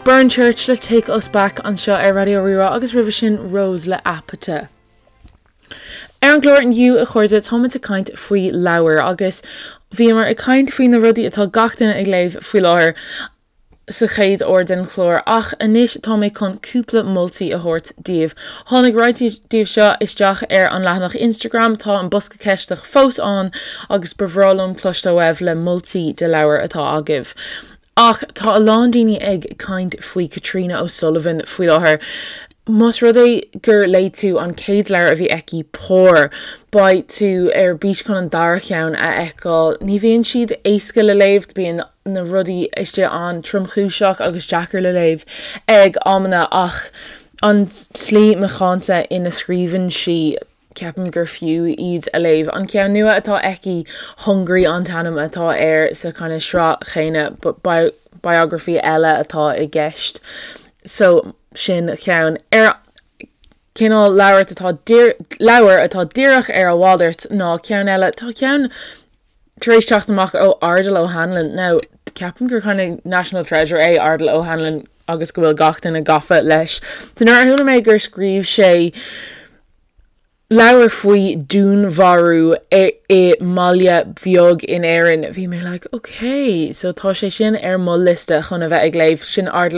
Burn Church le Take Us Back anseo ar Raidió Rí-Rá agus roimhe sin Rose le Apata. Ar an gclár inniu, a chairde, táimid ag caint faoi leabhair agus bhíomar ag caint faoi na rudaí atá gach duine ag léamh faoi láthair sa chéad uair den chlár ach anois tá mé chun cúpla moltaí a thabhairt daoibh. Tháinig roinnt díobh seo isteach ar an leathanach Instagram, tá an bosca ceisteach fós ann agus ba bhreá liom cloisteáil uaibh le moltaí de leabhair atá agaibh. Ach tá a lán daoine ag caint faoi Katrina O'Sullivan faoi láthair. Más rud é gur léigh tú an chéad leabhar a bhí aici, Pár, beidh tú ar bís chun an dara cheann a fheiceáil. Ní bhíonn siad éasca le léamh, bíonn na rudaí istigh an-tromchúiseach agus deacair le léamh ag amanna ach an tslí macánta ina scríobhann sí, Ceapaim gur fiú iad a léamh. An ceann nua atá aici, Hungry an t-ainm atá air sa kind of sraith chéanna but biography eile atá i gceist. So sin ceann. Ar cineál leabhar atá leabhar atá díreach ar a mhalairt ná ceann eile, tá ceann tar éis teacht amach ó Ardal O'Hanlon. Now, ceapaim gur kind of national treasure é Ardal O'Hanlon agus go bhfuil gach duine gafa leis. So nuair a chuala mé gur scríobh sé leabhar faoi dúnmharú i mbaile beag in Éirinn, bhí mé like, ok, so tá sé sin ar mo liosta chun a bheith ag léamh, sin Ardal.